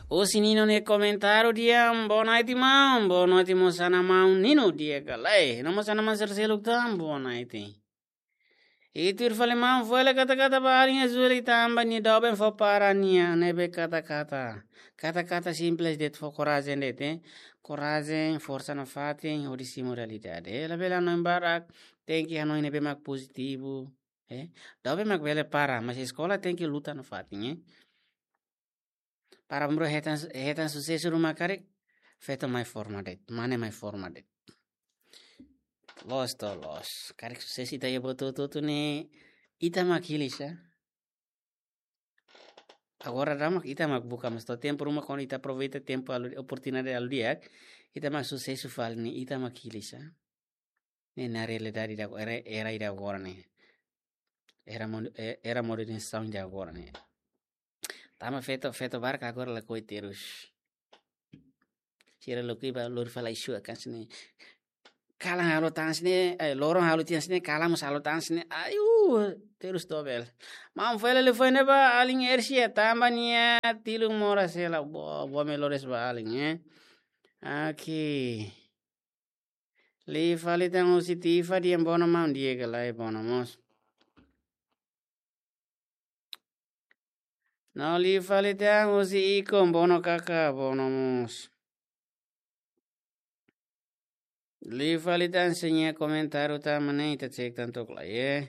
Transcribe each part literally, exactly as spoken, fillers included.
Husi Nino nia komentáriu dehan, boa noite maun, boa noite mós ona maun Nino di'ak ka lae. No mós ona maun sira seluk tan, boa noite. I tuir fali maun, fó hela kata-kata ba alin Azul tanba nia doben fó para nia ne'ebé kata-kata. Kata-kata simples de'it, fó korajen de'it, eh. Korajen, forsa nafatin, hodi simu realidade. Eh, labele hanoin barak, tenke hanoin ne'ebé mak pozitivu, eh. Doben mak bele para, mas eskola tenke luta nafatin, eh. Para bro hetan, hetan susesu ruma karik, feto mai forma de'it, mane mai forma de'it. Loos to, loos. Karik susesu ita iha buat hotu-hotu ne'e, ita mak hili sa. Agora daudaun mak ita mak buka, mas to'o tempu ruma kuandu ita aproveita tempu halo, oportunidade halo di'ak, ita mak susesu fali ne'e, ita mak hili sa. Ne'e na realidade ida, era, era ida agora ne'e. Era mo-, e-, era modernizasaun ida agora ne'e. Tanba feto, feto barak agora lakohi terus. Sira lakohi ba lori fali isu akan sini. Kalan halo tan sini, eh, loron halo tiha sini, kalan mós halo tan sini. Ayu, terus dobel. Maun fó hela liafuan ba alin Ersia tanba nia tilun moras hela. Bo, bo me lores ba alin, eh. Oke. Liu fali tan husi Tifa dehan bono maun di'ak ka lae, bono mós. No liu fali tan husi Iko, bono kaka, bono mós. Liu fali tan sira-nia komentáriu tan mak ne'e, ita cek tan took lai, eh.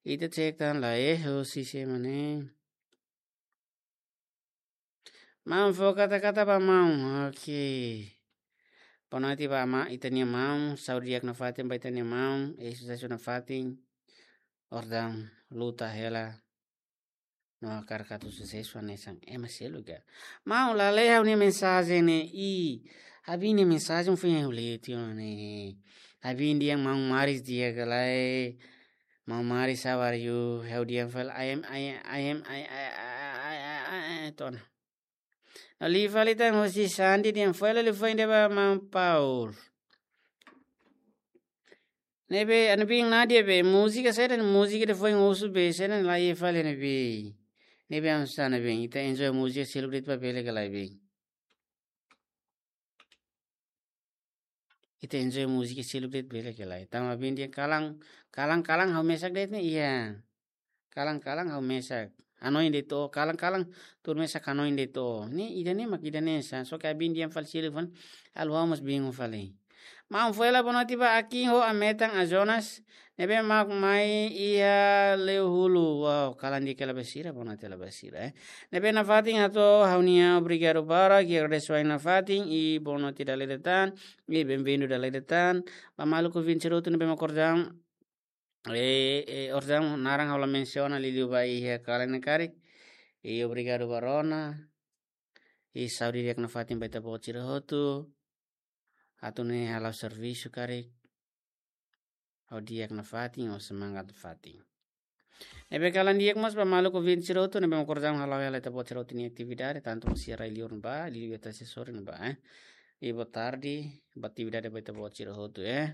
Ita cek tan lai, eh, husi sé mak ne'e. Maun fó kata-kata ba maun. Oke. Boa noite ba maun, ita-nia maun, saúde di'ak nafatin ba ita-nia maun, eh, susesu nafatin. Orsida luta hela. No hakarak atu susesu hanesan ema seluk ka. Maun, la lee ha'u-nia mensajen ne'e, i. Ha'u-nia mensajen foin ha'u lee tiha ona ne'e. Ha'u dehan maun Maris di'ak ka lae. Maun Maris, how are you? Ha'u dehan fali, I am, I am, I am, I, I, I, I, I, I, I, tona. No liu fali tan husi Sandi dehan fó hela liafuan ida ba maun Paul. Ne'ebé, ana bin Nadia be, múzika saida, múzika ida foin husu be, saida la iha fali ne'ebé. Ne'ebé anu sana be, ita enjoy múzika seluk de'it ba bele ka lae be. Ita enjoy múzika seluk de'it bele ka lae. Tanba bin dehan kalan, kalan, kalan ha'u mesak de'it ne'e, iya. Kalan-kalan ha'u mesak. Hanoin de'it, kalan-kalan tuur mesak hanoin de'it. Ne'e ida-ne'e mak ida-ne'e sa. Só ke ha'u bin dehan fali seluk fali. Halo ha'u mós bingung fali. Maun fó hela boa noite ba Akin ho Ametan, a Jonas. Ne'ebé mak mai iha Leuhulu. Wow, kalan di'ak hela ba sira, boa noite hela ba sira, eh. Ne'ebé nafatin hato'o ha'u-nia obrigadu barak, i agradesu nafatin, i boa noite dala ida tan, i bem-vindu dala ida tan. Ba maluk ouvinte sira hotu ne'ebé mak orsida, eh, eh, orsida naran ha'u la mensiona, liuliu ba iha kalan ne'e karik. I obrigadu ba rona. I saúde di'ak nafatin ba ita-boot sira hotu. Atu nune'e hala'o servisu karik ho di'ak nafatin, ho semangat nafatin. Ne'ebé kalan di'ak mós ba maluk ouvinte sira hotu ne'ebé mak orsida hala'o hela ita-boot sira hotu nia atividade, tantu mós iha rai-liur ne'ebá, liuliu iha Tasi Sorin ne'ebá, eh. I boa tarde, boa atividade ba ita-boot sira hotu, eh.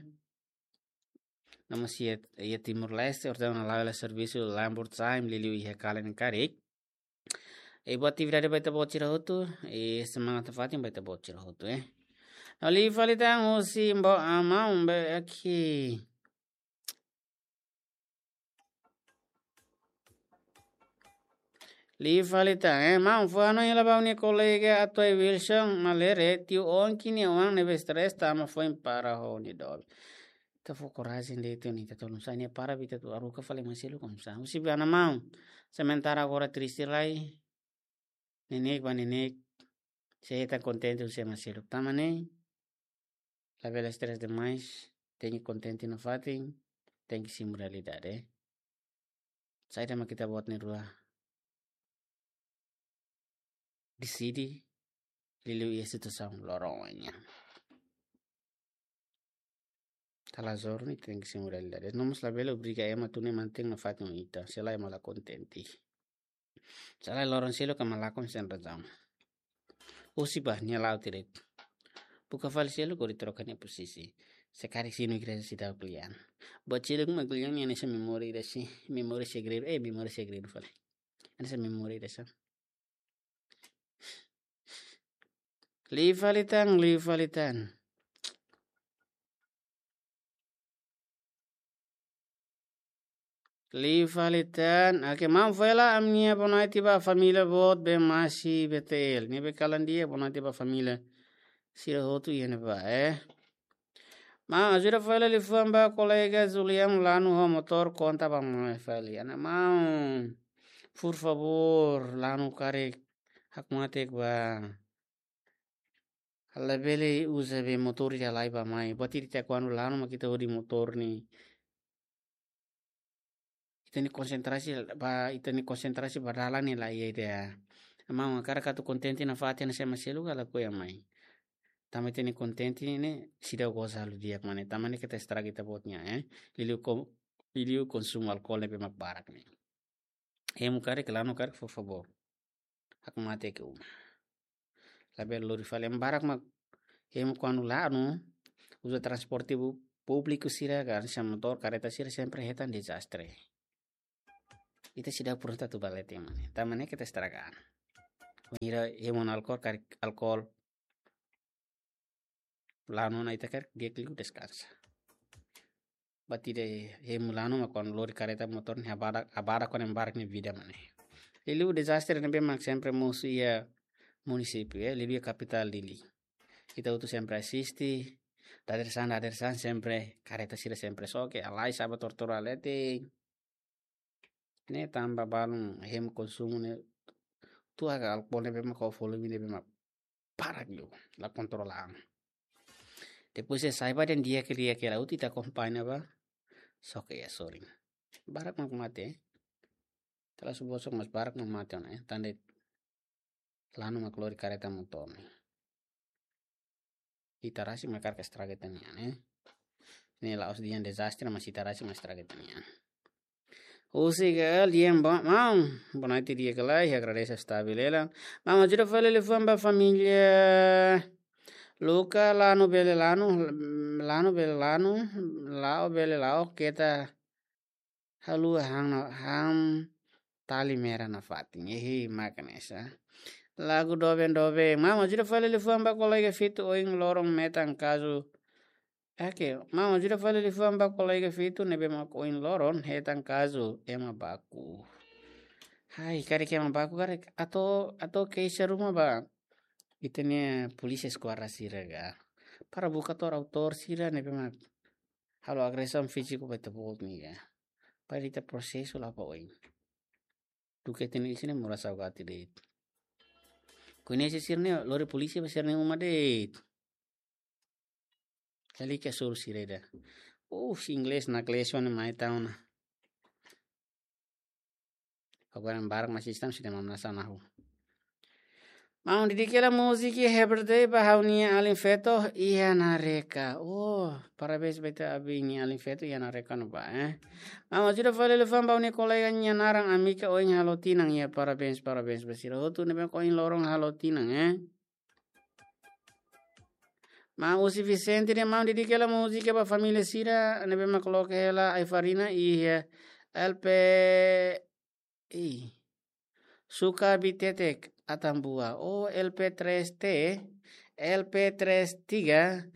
No mós iha, iha Timor-Leste, orsida hala'o hela servisu Lambert Time, liuliu iha kalan ne'e karik. I boa atividade ba ita-boot sira hotu, i semangat nafatin ba ita-boot sira hotu, eh. No liu fali tan husi Mbo Amau be aki. Liu fali tan, eh, maun, fó hanoin hela ba ha'u-nia kolega Atoy Wilson Malere, tiu Onki nia oan ne'ebé stress tanba foin para ho nia doben. Ita fó korajen de'it, ita tolong sa nia para, ita atu haruka fali ema seluk oinsá. Husi ba ana maun. Sementara agora triste lai. Neineik ba neineik. Sei hetan kontente husi ema seluk. Tanba ne'e, labele stress demais. Tenke kontente nafatin. Tenke simu realidade. Saida mak ita-boot na'in-rua deside, liuliu iha situasaun loron nian. Kala zor ni tenke simu realidade. No mós labele obriga ema atu nune'e mantein nafatin ho ita. Se lae ema la kontente. Se lae loron seluk ema lakon sem razaun. Husi ba nia la'o direitu. Buka fali seluk hodi troka nia pozisi. Se karik sinu igreja seidauk lian. Buat seluk mak lian nia hanesan memória ida, memória segredu. Eh, memória segredu fali. Hanesan memória ida sa. Liu fali tan, liu fali tan. Liu fali tan. Oke, maun fali hela ami-nia boa noite ba família boot be masi B T L. Ne'ebé kalan di'ak, boa noite ba família sira hotu iha ne'ebá, eh. Maun, ajuda fali hela liafuan ba kolega Julian lanu ho motór konta ba maun fali. Ana maun, por favór, lanu karik hakmatek ba. Labele uza be motór ida lai ba mai. Buat ida ita kuandu lanu mak ita hodi motór ne'e. Ita-nia konsentrasi ba, ita-nia konsentrasi ba dalan ne'e la iha ida. Maun, hakarak atu kontente nafatin hanesan ema seluk ka lakohi mai. Tanba ita-nia kontente ne'e seidauk goza halo di'ak mak ne'e. Tanba ne'e keta estraga ita-boot nia, eh. Liuliu ko-, liuliu konsumu alkol ne'ebé mak barak ne'e. Hemu karik, lanu karik, por favór. Hakmatek uma. Labele lori fali, ema barak mak hemu kuandu lanu, uza transporte pu-, públiku sira ka, hanesan motór, kareta sira sempre hetan dezastre. Ita seidauk prontu atu ba leten mak ne'e. Tanba ne'e keta estraga an. Wainhira hemu ona alkol, karik alkol lanu ona, ita karik di'ak liu deskansa. Buat ida hemu lanu mak kuandu lori kareta motór ne'e habadak, habadak ho ema barak nia vida mak ne'e. Liuliu dezastre ne'ebé mak sempre mosu iha munisípiu, eh, liuliu iha kapitál Dili. Ita hotu sempre asiste, dadeer-saan, dadeer-saan sempre, kareta sira sempre xoke, halai sa'e ba tortor leten. Ne'e tanba balun hemu konsumu ne'e, tuir alkol ne'ebé mak ho volume ne'ebé mak barak liu, la kontrola an. Depois se sai ba dehan di'ak ka, di'ak ka lae, ita akompaña ba, xoke iha sorin. Barak mak mate, eh. Tela subosok mas barak mak mate ona, eh. Tanba lanu mak lori kareta motór ne'e. Ita rasik mak hakarak estraga ita-nia an, eh. Ne'e la'ós dehan dezastre, mas ita rasik mak estraga ita-nia an. Husi Gael, di'ak ba, maun. Boa noite, di'ak ka lae, agradese stabil hela. Maun, ajuda fali liafuan ba família Luca, lanu bele lanu, lanu bele lanu, la'o bele la'o, keta haluha han, han tali mera nafatin. Ehi, mak hanesan. Lagu doben doben. Maun, ajuda fali liafuan ba kolega Fitu, ohin loron metan kazu. Oke, maun, ajuda fali liafuan ba kolega Fitu ne'ebé mak ohin loron hetan kazu ema baku. Hai, karik ema baku karik atu, atu keixa ruma ba ita-nia polísia eskuadra sira ka. Para buka tuir autór sira ne'ebé mak halo agresaun fíziku ba ita-boot ne'e ka. Para ita prosesu la ba oin. Duké ita-nia isin ne'e moras saugati de'it. Koñese sira-ne'e lori polísia ba sira-nia uma de'it. Kali ke sur sira ida. Uh, si inglés na klesio ne'e mai tau ona. Agora barak na sistema sira mamna sana hu. Maun, dedika hela múzika Happy Birthday ba ha'u-nia alin feto iha Nareka. Oh, parabéns ba ita abin nia alin feto iha Nareka ne'ebá, eh. Maun, ajuda fali liafuan ba ha'u-nia kolega nia naran Amika ohin halo tinan, ya, parabéns, parabéns ba sira hotu ne'ebé ohin loron halo tinan, eh. Maun, husi Vicente dehan maun, dedika hela múzika ba família sira ne'ebé mak loke hela ai-farina iha L P I. Suka Bitetek Atambua. Oh, L P tres T, L P tres tiga,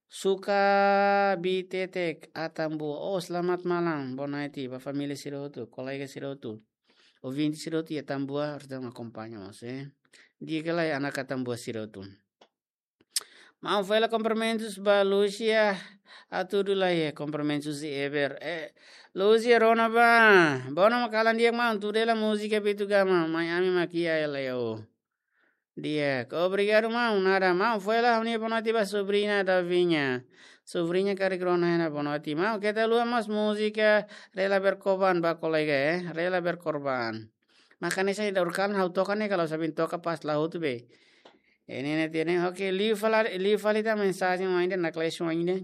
Suka Bitetek Atambua. Oh, selamat malam, boa noite ba família sira hotu, kolega sira hotu, ouvinte sira hotu iha Atambua, harus dong akompaña mós, eh. Di'ak ka lae, anak Atambua sira hotu. Maun, fali hela kumprimentus ba Lúcia, atu dula, eh, kumprimentus de Eber. Eh, Lúcia, rona bá. Bono mak kalan di'ak maun, tuda hela múzika Beto Gama, mai ami mak iha hela, yo. Di'ak. Obrigadu maun, nada. Maun, fali hela ha'u-nia boa noite ba sobriña Davinha. Sobriña karik rona hela boa noite. Maun, keta haluha mós múzika Rela Berkorban ba kolega, eh. Rela Berkorban. Mak hanesan ida urkalan ha'u toka ne'e, kalau sabin toka pas la hotu be. Ne'e, ne'e, tiene, oke, liu fali, liu fali tan mensajen mai ida, na klesio mai ida.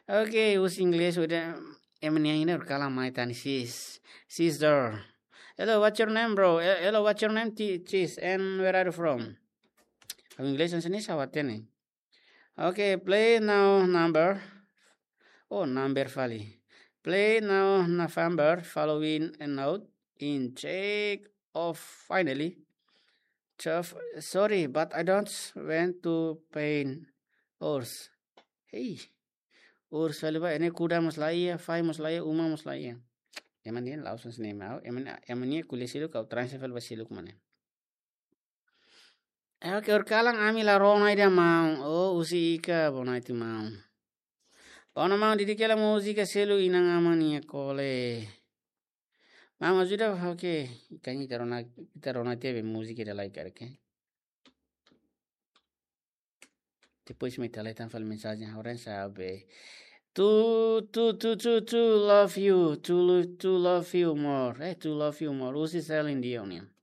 Oke, husi inglés udah, ema nia ida urkalan mai tan, sis, sister. Hello, what's your name, bro? He-, hello, what's your name, ti-, sis? And where are you from? Ha'u inglés hanesan ne'e sawat ne'e. Okay, play now number. Oh, number fali. Play now November following a note in check of finally. Tough, sorry, but I don't want to pain ours. Hey, ours fali ba, ene kuda mós laiha, fahi mós laiha, uma mós laiha. Ema nian la'ós hanesan ne'e, maun. Ema, ema nia ko'alia seluk, ha'u transfer fali ba seluk mak ne'e. Eh, oke, horikalan ami la rona ida maun. Oh, husi Ika, boa noite maun. Bom, maun, dedika hela múzika seluk inan-aman nia kole. Maun, ajuda, oke. Kan ita rona, ita rona tiha be múzika ida lai karik, oke? Depois mak ita lai tan fali mensajen, ha'u la sabe. To, to, to, to, to love you, to lo-, to love you more. Eh, to love you more. Husi Celine Dion nian.